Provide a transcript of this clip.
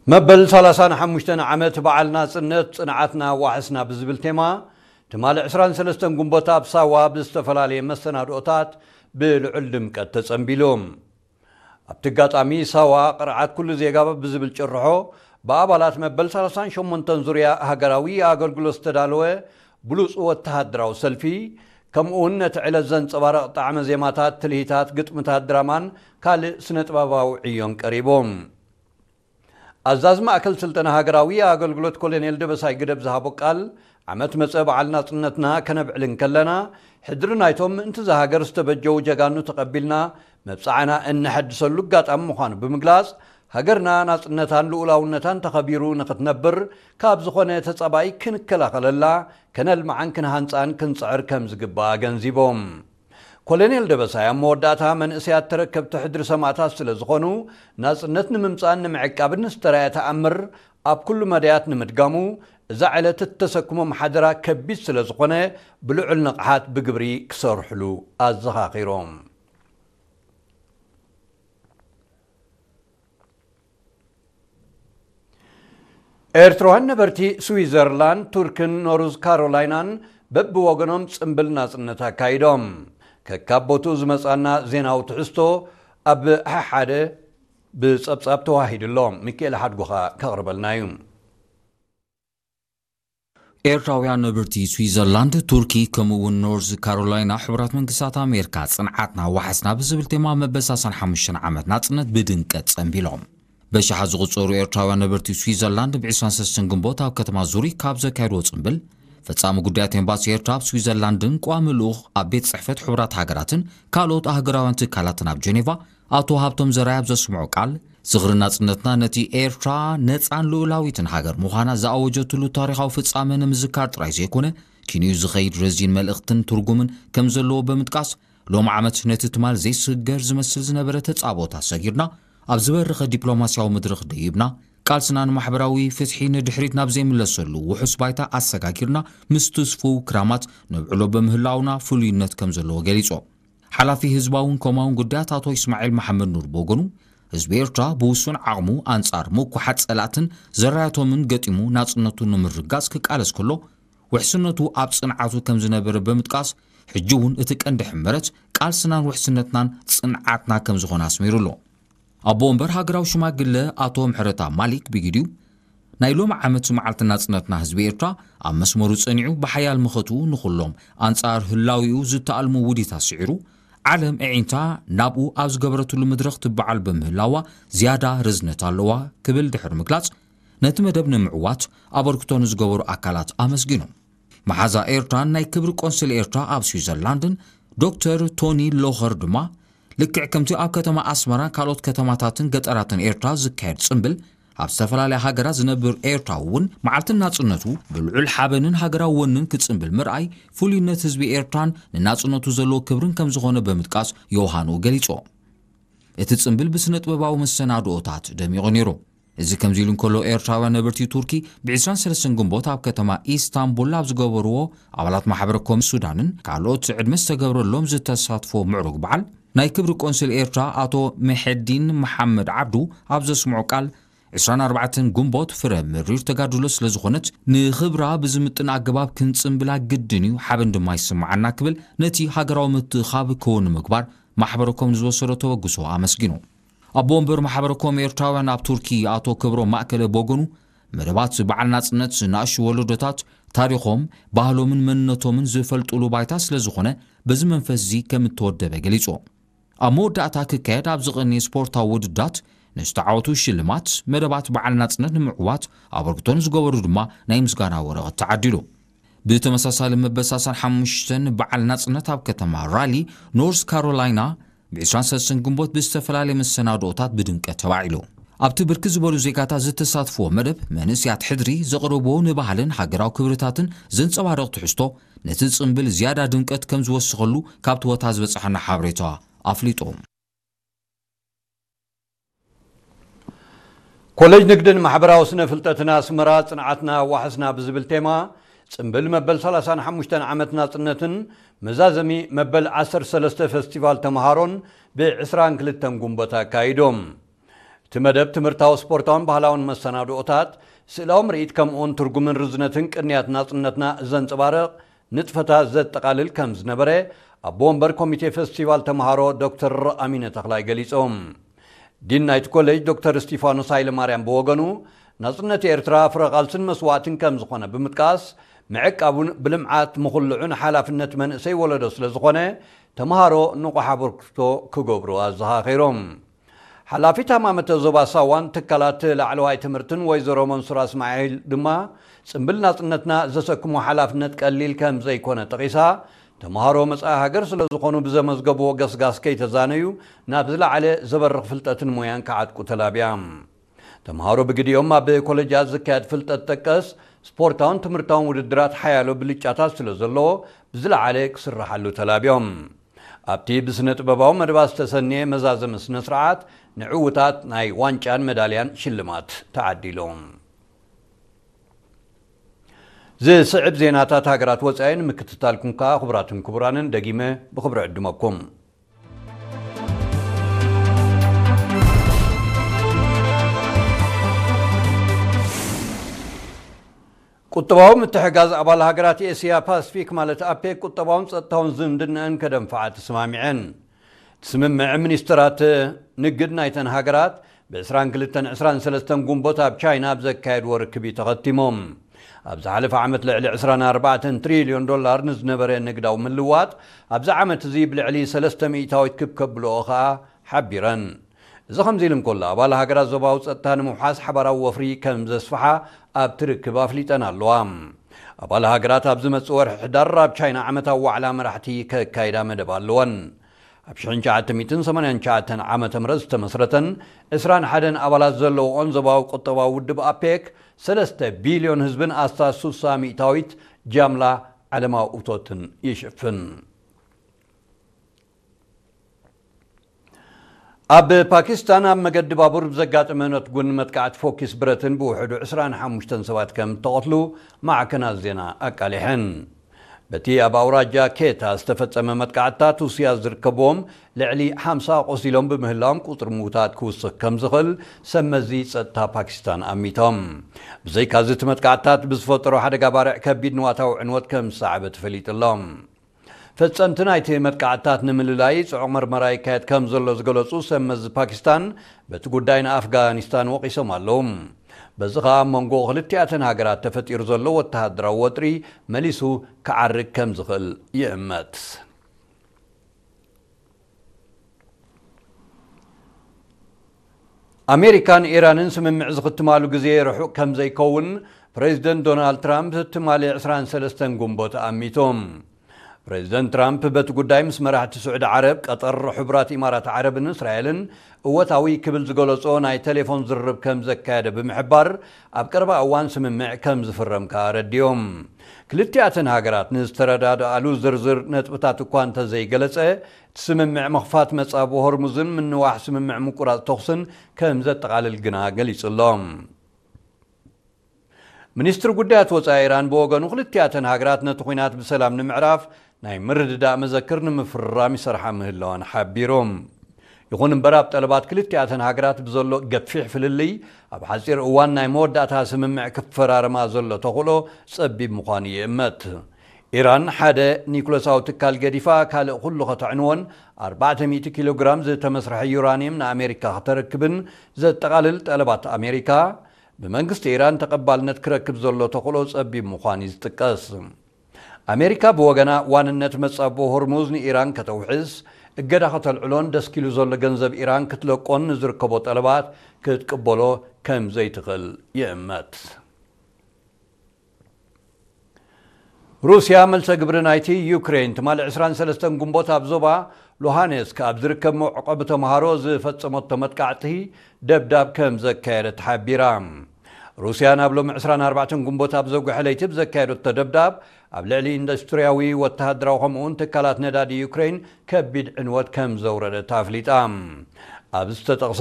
መበል ሰላሳን ሓሙሽተን ዓመት በዓል ናጽነት ጽንዓትና ዋሕስና ብዝብል ቴማ፣ ትማሊ ዕስራን ሰለስተን ግንቦት ኣብ ሳዋ ብዝተፈላለየ መሰናድኦታት ብልዑል ድምቀት ተጸንቢሉ። ኣብቲ ኣጋጣሚ ሳዋ ቅርዓት ኩሉ ዜጋ ብዝብል ጭርሖ ብኣባላት መበል ሰላሳን ሸሞንተን ዙርያ ሃገራዊ ኣገልግሎት ዝተዳለወ ብሉጽ ወተሃደራዊ ሰልፊ፣ ከምኡ እውን ነቲ ዕለት ዘንጸባርቕ ጣዕመ ዜማታት፣ ትልሂታት፣ ግጥምታት፣ ድራማን ካልእ ስነ-ጥበባዊ ዕዮን ቀሪቦም። ኣዛዚ ማእከል ስልጠና ሃገራዊ ኣገልግሎት ኮሎኔል ደበሳይ ግደብ ዝሃቦ ቃል፣ ዓመት መጸ በዓል ናጽነትና ከነብዕል እንከለና፣ ሕድሪ ናይቶም ምእንቲ እዛ ሃገር ዝተበጀዉ ጀጋኑ ተቐቢልና መብጽዓና እነሐድሰሉ ኣጋጣሚ ምዃኑ ብምግላጽ፣ ሃገርና ናጽነታን ልኡላውነታን ተኸቢሩ ንኽትነብር ካብ ዝኾነ ተጻባኢ ክንከላኸለላ፣ ከነልምዓን ክንሃንጻን ክንጽዕር ከም ዝግባእ ኣገንዚቦም። ኮሎኔል ደበሳይ ኣብ መወዳእታ፣ መንእሰያት ተረከብቲ ሕድሪ ሰማእታት ስለ ዝኾኑ፣ ናጽነት ንምምጻእን ንምዕቃብን ዝተራእየ ተኣምር ኣብ ኩሉ መዳያት ንምድጋሙ፣ እዛ ዕለት እተሰክሞም ሓደራ ከቢድ ስለ ዝኾነ፣ ብልዑል ንቕሓት ብግብሪ ክሰርሕሉ ኣዘኻኺሮም። ኤርትራውያን ነበርቲ ስዊዘርላንድ፣ ቱርክን ኖርዝ ካሮላይናን በብወገኖም ጽምብል ናጽነት ኣካይዶም። ከካብ ቦትኡ ዝመጻና ዜናዊ ትሕዝቶ ኣብ ሓደ ብጸብጻብ ተዋሂዱ ኣሎ። ሚካኤል ሓድጉኻ ከቕርበልና እዩ። ኤርትራውያን ነበርቲ ስዊዘርላንድ፣ ቱርኪ፣ ከምኡ እውን ኖርዝ ካሮላይና፣ ሕቡራት መንግስታት ኣሜሪካ ጽንዓትና ዋሕስና ብዝብል ቴማ መበል ሰላሳን ሓሙሽተን ዓመት ናጽነት ብድምቀት ጸንቢሎም። በሽሓት ዝቑጸሩ ኤርትራውያን ነበርቲ ስዊዘርላንድ ብ ዕስራን ሰለስተን ግንቦት ኣብ ከተማ ዙሪክ ካብ ዘካየድዎ ጽምብል፣ ፈጻሚ ጉዳያት ኤምባሲ ኤርትራ ኣብ ስዊዘርላንድን ቋሚ ልኡኽ ኣብ ቤት ጽሕፈት ሕቡራት ሃገራትን ካልኦት ኣህጉራውያን ትካላትን ኣብ ጀኔቫ ኣቶ ሃብቶም ዘርኣይ ኣብ ዘስምዖ ቃል፣ ዝኽሪ ናጽነትና ነቲ ኤርትራ ነጻን ልኡላዊትን ሃገር ምዃና ዝኣወጀትሉ ታሪኻዊ ፍጻመ ንምዝካር ጥራይ ዘይኮነ፣ ኪንኡ ዝኸይድ ረዚን መልእኽትን ትርጉምን ከም ዘለዎ ብምጥቃስ፣ ሎም ዓመት ነቲ ትማል ዘይስገር ዝመስል ዝነበረ ተጻብኦታት ሰጊርና፣ ኣብ ዝበረኸ ዲፕሎማስያዊ መድረኽ ደይብና፣ ቃልስና ንማሕበራዊ ፍትሒ ንድሕሪት ናብ ዘይምለሰሉ ውሑስ ባይታ ኣሰጋጊርና፣ ምስ ትስፉው ክራማት ነብዕሎ ብምህላውና ፍሉይነት ከም ዘለዎ ገሊጾ። ሓላፊ ህዝባውን ኮማውን ጉዳያት ኣቶ ይስማዒል መሓመድ ኑር ብወገኑ፣ ህዝቢ ኤርትራ ብውሱን ዓቕሙ ኣንጻር ምኩሓት ጸላእትን ዘራያቶምን ገጢሙ ናጽነቱ ንምርግጋጽ ክቃለስ ከሎ፣ ውሕስነቱ ኣብ ጽንዓቱ ከም ዝነበረ ብምጥቃስ፣ ሕጂ እውን እቲ ቀንዲ ሕመረት ቃልስናን ውሕስነትናን ጽንዓትና ከም ዝኾነ ኣስሚሩ ኣሎ። ኣቦ ወንበር ሃገራዊ ሽማግለ ኣቶ ምሕረተኣብ ማሊክ ብግዲኡ፣ ናይ ሎሚ ዓመት መዓልቲ ናጽነትና ህዝቢ ኤርትራ ኣብ መስመሩ ጸኒዑ ብሓያል ምኸቱ ንኹሎም ኣንጻር ህላዊኡ ዝተኣልሙ ውዲታት ስዒሩ፣ ዓለም ኣዒንታ ናብኡ ኣብ ዝገበረትሉ መድረኽ ትበዓል ብምህላዋ ዝያዳ ርዝነት ኣለዋ ክብል ድሕሪ ምግላጽ፣ ነቲ መደብ ንምዕዋት ኣበርክቶ ንዝገበሩ ኣካላት ኣመስጊኑ። መሓዛ ኤርትራን ናይ ክብሪ ቆንስል ኤርትራ ኣብ ስዊዘርላንድን ዶክተር ቶኒ ሎኸር ድማ፣ ልክዕ ከምቲ ኣብ ከተማ ኣስመራን ካልኦት ከተማታትን ገጠራትን ኤርትራ ዝካየድ ጽምብል፣ ኣብ ዝተፈላለያ ሃገራት ዝነብር ኤርትራዊ እውን መዓልቲ ናጽነቱ ብልዑል ሓበንን ሃገራዊ ወንን ክጽምብል ምርኣይ፣ ፍሉይነት ህዝቢ ኤርትራን ንናጽነቱ ዘለዎ ክብርን ከም ዝኾነ ብምጥቃስ፣ ዮሃንኡ ገሊጹ። እቲ ጽምብል ብስነ ጥበባዊ መሰናድኦታት ደሚቑ ነይሩ። እዚ ከምዚ ኢሉ እንከሎ፣ ኤርትራውያን ነበርቲ ቱርኪ ብ ዕስራን ሰለስተን ግንቦት ኣብ ከተማ ኢስታንቡል ኣብ ዝገበርዎ፣ ኣባላት ማሕበረ ኮም ሱዳንን ካልኦት ዕድመ ዝተገብረሎም ዝተሳትፎ ምዕሩግ በዓል፣ ናይ ክብሪ ቆንስል ኤርትራ ኣቶ መሐዲን መሓመድ ዓብዱ ኣብ ዘስምዖ ቃል፣ ዕስራን ኣርባዕተን ግንቦት ፍረ መሪር ተጋድሎ ስለ ዝኾነት፣ ንኽብራ ብዝምጥን ኣገባብ ክንጽምብላ ግድን እዩ፣ ሓበን ድማ ይስምዓና ክብል፣ ነቲ ሃገራዊ ምትእኻብ ክውን ንምግባር ማሕበረ ኮም ንዝወሰዶ ተበግሶ ኣመስጊኑ። ኣቦ ወንበር ማሕበረ ኮም ኤርትራውያን ኣብ ቱርኪ ኣቶ ክብሮም ማእከለ ብወገኑ፣ መደባት በዓል ናጽነት ንኣሽቱ ወለዶታት ታሪኾም፣ ባህሎምን መንነቶምን ዝፈልጡሉ ባይታ ስለ ዝኾነ፣ በዚ መንፈስ እዚ ከም እተወደበ ገሊጹ። ኣብ መወዳእታ ክካየድ ኣብ ዝቐንየ ስፖርታዊ ውድድራት ንዝተዓወቱ ሽልማት፣ መደባት በዓል ናጽነት ንምዕዋት ኣበርክቶ ንዝገበሩ ድማ ናይ ምስጋና ወረቐት ተዓዲሉ። ብተመሳሳሊ መበል ሰላሳን ሓሙሽተን በዓል ናጽነት ኣብ ከተማ ራሊ፣ ኖርዝ ካሮላይና፣ ብ ዕስራን ሰለስተን ግንቦት ብዝተፈላለየ መሰናድኦታት ብድምቀት ተባዒሉ። ኣብቲ ብርክት ዝበሉ ዜጋታት ዝተሳትፍዎ መደብ፣ መንእሰያት ሕድሪ ዘቕረብዎ ንባህልን ሃገራዊ ክብርታትን ዘንጸባርቕ ትሕዝቶ፣ ነቲ ጽምብል ዝያዳ ድምቀት ከም ዝወሰኸሉ ካብቲ ቦታ ዝበጽሓና ሓበሬታ ኣፍሊጡ። ኮሌጅ ንግድን ማሕበራዊ ስነ ፍልጠትን ኣስመራ፣ ጽንዓትና ዋሕስና ብዝብል ቴማ፣ ጽምብል መበል ሰላሳን ሓሙሽተን ዓመት ናጽነትን መዛዘሚ መበል ዓሰርተ ሰለስተ ፈስቲቫል ተምሃሮን ብ ዕስራን ክልተን ግንቦት ኣካይዶም። እቲ መደብ ትምህርታዊ፣ ስፖርታውን ባህላውን መሰናድኦታት፣ ስእላዊ ምርኢት፣ ከምኡውን ትርጉምን ርዝነትን ቅንያት ናጽነትና ዘንጸባርቕ ንጥፈታት ዘጠቓልል ከም ዝነበረ ኣቦ ወንበር ኮሚቴ ፈስቲቫል ተምሃሮ ዶክተር ኣሚነ ተኽላይ ገሊጾም። ዲን ናይቲ ኮሌጅ ዶክተር እስቲፋኖስ ሃይለማርያም ብወገኑ፣ ናጽነት ኤርትራ ፍረ ቃልስን መስዋእትን ከም ዝኾነ ብምጥቃስ፣ ምዕቃቡን ብልምዓት ምኹልዑን ሓላፍነት መንእሰይ ወለዶ ስለ ዝኾነ፣ ተምሃሮ ንቑሕ ኣበርክቶ ክገብሩ ኣዘኻኺሮም። ሓላፊት ሃማመተ ዞባ ሳዋን ትካላት ላዕለዋይ ትምህርትን ወይዘሮ መንሱራ እስማዒል ድማ፣ ጽምብል ናጽነትና ዘሰክሞ ሓላፍነት ቀሊል ከም ዘይኮነ ጠቒሳ፣ ተምሃሮ መጻኢ ሃገር ስለ ዝኾኑ ብዘመዝገብዎ ገስጋስ ከይተዛነዩ ናብ ዝለዓለ ዘበርኽ ፍልጠትን ሞያን ክዓጥቁ ተላብያ። ተምሃሮ ብግዲኦም ኣብ ኮለጃት ዝካየድ ፍልጠት ጠቀስ ስፖርታውን ትምህርታውን ውድድራት ሓያሎ ብልጫታት ስለ ዘለዎ ብዝለዓለ ክስርሓሉ ተላብዮም። ኣብቲ ብስነ ጥበባዊ መደባት ዝተሰንየ መዛዘሚ ስነ ስርዓት ንዕውታት ናይ ዋንጫን መዳልያን ሽልማት ተዓዲሎም። ዝስዕብ ዜናታት ሃገራት ወጻኢ ንምክትታልኩም ከኣ ክቡራትን ክቡራንን ደጊመ ብኽብሪ ዕድመኩም። ቁጠባዊ ምትሕጋዝ ኣባል ሃገራት ኤስያ ፓስፊክ ማለት ኣፔክ ቁጠባውን ጸጥታውን ዝምድናኣን ከደንፍዓ ተሰማሚዐን። እቲ ስምምዕ ሚኒስትራት ንግድ ናይተን ሃገራት ብ ዕስራን ክልተን ዕስራን ሰለስተን ጉንቦት ኣብ ቻይና ኣብ ዘካየድዎ ርክብ እዩ ተኸቲሞም። ኣብ ዝሓለፈ ዓመት ልዕሊ ዕስራን ኣርባዕተን ትሪልዮን ዶላር ንዝነበረ ንግዳዊ ምልዋጥ ኣብዚ ዓመት እዚ ብልዕሊ ሰለስተ ሚእታዊት ክብ ከብልኦ ኸኣ ሓቢረን። እዚ ከምዚ ኢሉ እንከሎ፣ ኣባል ሃገራት ዞባዊ ጸጥታ ንምውሓስ ሓባራዊ ወፍሪ ከም ዘስፍሓ ኣብቲ ርክብ ኣፍሊጠን ኣለዋ። ኣባል ሃገራት ኣብ ዝመጽእ ወርሒ ሕዳር ኣብ ቻይና ዓመታዊ ዋዕላ መራሕቲ ከካይዳ መደብ ኣለወን። ኣብ ሽሕን ትሽዓተ ሚእትን ሰማንያን ትሽዓተን ዓመተ ምህረት ዝተመስረተን ዕስራን ሓደን ኣባላት ዘለዎኦን ዞባዊ ቁጠባዊ ውድብ ኣፔክ፣ ሰለስተ ቢልዮን ህዝብን ኣስታት ሱሳ ሚእታዊት ጃምላ ዓለማዊ እቶትን ይሽፍን። ኣብ ፓኪስታን ኣብ መገዲ ባቡር ብዘጋጠመ ነትጉን መጥቃዕቲ ፎኪስ ብረትን ብውሕዱ ዕስራን ሓሙሽተን ሰባት ከም እተቐትሉ ማዕከናት ዜና ኣቃሊሐን። በቲ ኣብ ኣውራጃ ኬታ ዝተፈጸመ መጥቃዕትታት ሩስያ ዝርከብዎም ልዕሊ ሓምሳ ቆሲሎም ብምህላዎም፣ ቁጽሪ ምዉታት ክውስኽ ከም ዝኽእል ሰብ መዚ ጸጥታ ፓኪስታን ኣሚቶም። ብዘይካዚ፣ እቲ መጥቃዕትታት ብዝፈጠሮ ሓደጋ ባርዕ ከቢድ ንዋታዊ ዕንወት ከም ዝሰዓበ ተፈሊጡ ኣሎ። ፈጸምቲ ናይቲ መጥቃዕትታት ንምልላይ ጽዑቕ መርመራ ይካየድ ከም ዘሎ ዝገለጹ ሰብ መዚ ፓኪስታን፣ በቲ ጉዳይ ንኣፍጋኒስታን ወቒሶም ኣለዉ። በዚ ኸኣ ኣብ መንጎ ክልቲኣተን ሃገራት ተፈጢሩ ዘሎ ወተሃደራዊ ወጥሪ መሊሱ ክዓርግ ከም ዝኽእል ይእመት። ኣሜሪካን ኢራንን ስምምዕ ዝኽትማሉ ግዜ ርሑቕ ከም ዘይከውን ፕሬዚደንት ዶናልድ ትራምፕ ትማሊ ዕስራን ሰለስተን ጉንቦት ኣሚቶም። ፕሬዚደንት ትራምፕ በቲ ጉዳይ ምስ መራሕቲ ስዑዲ ዓረብ፣ ቀጠር፣ ሕቡራት ኢማራት ዓረብን እስራኤልን እወታዊ ክብል ዝገለጾ ናይ ቴሌፎን ዝርርብ ከም ዘካየደ ብምሕባር፣ ኣብ ቀረባ እዋን ስምምዕ ከም ዝፍረም ከኣ ኣረዲኦም። ክልቲኣተን ሃገራት ንዝተረዳድኣሉ ዝርዝር ነጥብታት እኳ እንተዘይገለጸ፣ እቲ ስምምዕ ምኽፋት መጻብ ሆርሙዝን ምንዋሕ ስምምዕ ምቁራጽ ተኹስን ከም ዘጠቓልል ግና ገሊጹ ኣሎ። ሚኒስትሪ ጉዳያት ወጻኢ ኢራን ብወገኑ፣ ክልቲኣተን ሃገራት ነቲ ኲናት ብሰላም ንምዕራፍ ናይ ምርድዳእ መዘክር ንምፍርራም ይሰርሓ ምህላወን ሓቢሩ። ይኹን እምበር፣ ኣብ ጠለባት ክልቲኣተን ሃገራት ብዘሎ ገፊሕ ፍልልይ፣ ኣብ ሓጺር እዋን ናይ መወዳእታ ስምምዕ ክፈራረማ ዘሎ ተኽእሎ ጸቢብ ምዃኑ ይእመት። ኢራን ሓደ ኒኩለሳዊ ትካል ገዲፋ፣ ካልእ ኩሉ ከተዕንዎን ኣርባዕተ ሚእቲ ኪሎ ግራም ዝተመስርሐ ዩራንየም ንኣሜሪካ ከተረክብን ዘጠቓልል ጠለባት ኣሜሪካ፣ ብመንግስቲ ኢራን ተቐባልነት ክረክብ ዘሎ ተኽእሎ ጸቢብ ምዃኑ እዩ ዝጥቀስ። ኣሜሪካ ብወገና፣ ዋንነት መጻብቦ ሆርሙዝ ንኢራን ከተውሕስ፣ እገዳ ከተልዕሎን ደስኪሉ ዘሎ ገንዘብ ኢራን ክትለቆን ንዝርከቦ ጠለባት ክትቅበሎ ከም ዘይትኽእል ይእመት። ሩስያ፣ መልሰ ግብሪ ናይቲ ዩክሬን ትማሊ ዕስራን ሰለስተን ጉንቦት ኣብ ዞባ ሉሃኔስክ ኣብ ዝርከብ መዕቆቢ ተምሃሮ ዝፈጸመቶ መጥቃዕቲ ደብዳብ ከም ዘካየደት ሓቢራ። ሩስያ፣ ናብ ሎሚ ዕስራን ኣርባዕተን ጉንቦት ኣብ ዘጉሐ ለይቲ ብዘካየደቶ ደብዳብ፣ ኣብ ልዕሊ ኢንዱስትርያዊ፣ ወተሃደራዊ፣ ከምኡውን ትካላት ነዳዲ ዩክሬን ከቢድ ዕንወት ከም ዘውረደት ኣፍሊጣ። ኣብ ዝተጠቕሰ